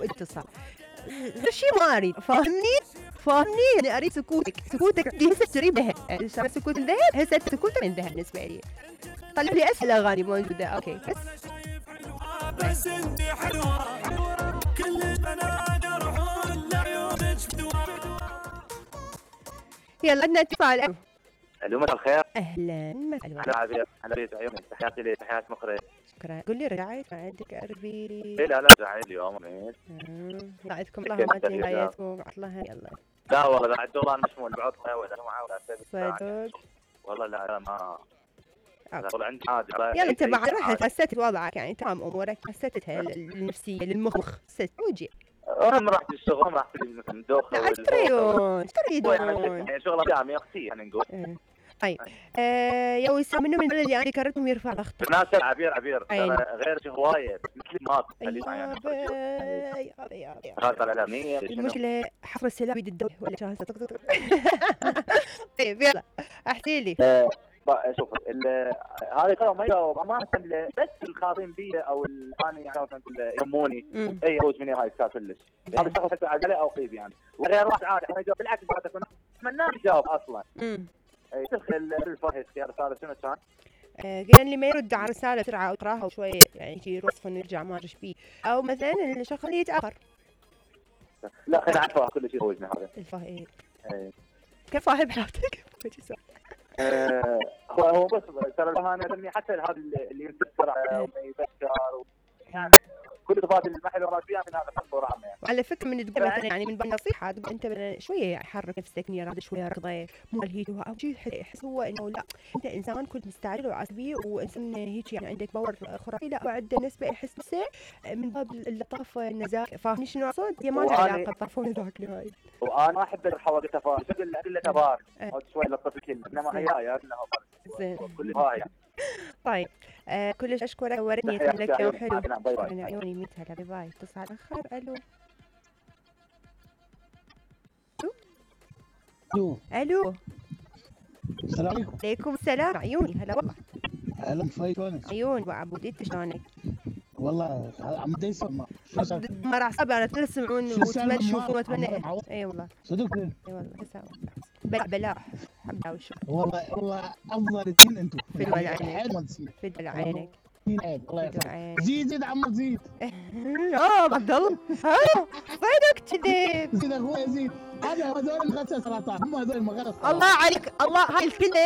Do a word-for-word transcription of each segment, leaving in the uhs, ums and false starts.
واتصال. شيء ما اريد، فاهمني؟ فاهمني؟ يعني اريد سكوتك، سكوتك هسه تريد ذهب، صار سكوت الذهب، هسه سكوتك من ذهب بالنسبه لي. طلع لي اسهل اغاني موجوده، اوكي بس بس انت حلوه كل البنات يروحون لعيونك بدوام. يلا عندنا اتصال. الو مساء الخير. اهلا مساء هلا عبير، هلا بيت عيوني، تحياتي لك، تحيات مخرج. شكرا. قول لي رجعت ما عندك قربي لي. ايه لا لا رجعت اليوم ميت. يساعدكم الله وما تنهايتكم عطلها يلا. لا والله بعد والله انا مشمول بعطله ولا جمعه ولا صدق والله لا لا ما والله عندي حاجه. يلا انت بعد رحت حسيت وضعك يعني تمام امورك، حسيتها النفسيه للمخ حسيت وجي. انا رحت الشغل، رحت الدوخه لا تريدون ايش تريدون؟ يعني شغله جامعه اختي يعني نقول. طيب آه يا وسام منو من البلد اللي انا ذكرتهم يرفع ضغطك. ناس عبير عبير غير هوايه مثل ما يعني هذا الاعلاميه المشكله حفر السلام بيد الدوله ولا جاهزه. طيب يلا احكي لي. شوف هذه كلام ما يجاوب امانه، بس الخاطين بي او انا يعني يهموني اي يفوز مني هاي السالفه كلش. هذا الشخص حتى عجله او قيب يعني وغير واحد عادي انا يجاوب بالعكس بعد اكون اتمنى يجاوب اصلا. امم اي تدخل الفهد اختيار رساله شنو كان؟ قال لي ما يرد على رساله بسرعه او يقراها وشوي يعني يجي رصف نرجع ما ادري بيه، او مثلا الشخص اللي يتاخر. لا خلينا نعرفها كل شيء يفوزنا هذا. الفهد كيف فاهم حياتك؟ آه هو بس ترى انا حتى هذا اللي ينتظر يبشر يعني كل تفاصيل المحل وراك فيها من هذا الحق ورامه يعني. على فكره من تقول مثلا يعني من نصيحه تقول انت شويه حرك نفسك نير شويه رضي مو الهيج او شيء يحس هو انه لا انت انسان كنت مستعجل وعصبي وانسان هيك يعني عندك باور خرافي، لا وعنده نسبه يحس نفسه من باب اللطافه النزاهه. فاهمني شنو اقصد؟ هي ما لها علاقه بطرف وذاك نهائي. وانا ما احب الحوادث تفاصيل شكل ادله تبار او شوي لطف الكلمه انما هي هي انها زين كل هاي. طيب آه كلش اشكرك وريتني لك يوم حلو. انا عيوني ميت هلا باي باي. اتصال اخر. الو الو الو السلام عليكم. عليكم السلام عيوني هلا والله. هلا كيفك شلونك؟ عيون وعبود انت شلونك؟ والله عم ديس ما ما راح صعب انا تسمعون وتشوفون واتمنى. اي والله صدق اي والله تساوي بلا بلاح الحمد لله والشكر. والله والله افضل اثنين انتم في دول عينك في دول عينك الله يسلمك. زيد زيد عم زيد. اه عبد الله صدق كذب. زيد اخوي زيد. هذا هذول المغسل سرطان هم هذول المغسل. الله عليك الله هاي الكلمه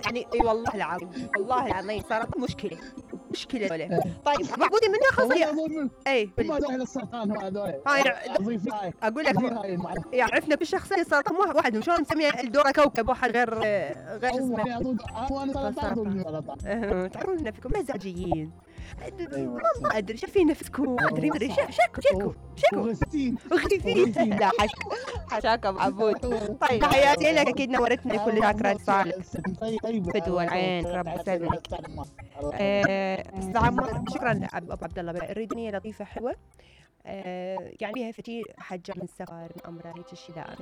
يعني اي والله العظيم والله العظيم صارت مشكله مشكله ولا. طيب معبودي من ياخذ اي هم هذول السرطان هم هذول. هاي اقول لك يعرفنا بالشخصيه سرطان واحد شلون نسميه الدوره كوكب واحد غير غير اسمه. هو سرطان. تعرفون نفسكم مزاجيين ما ادري شايفين نفسكم ما ادري ما ادري شكو شكو شكو غثيثين غثيثين. لا حش حشاك ابو عبود. طيب تحياتي لك اكيد نورتنا كل شاكرا صالح فدوى العين رب يسلمك. السلام شكرا ابو عبد الله. الردنيه لطيفه حلوه يعني بها فتي حجه من السفر من امرها هيك الشيء لا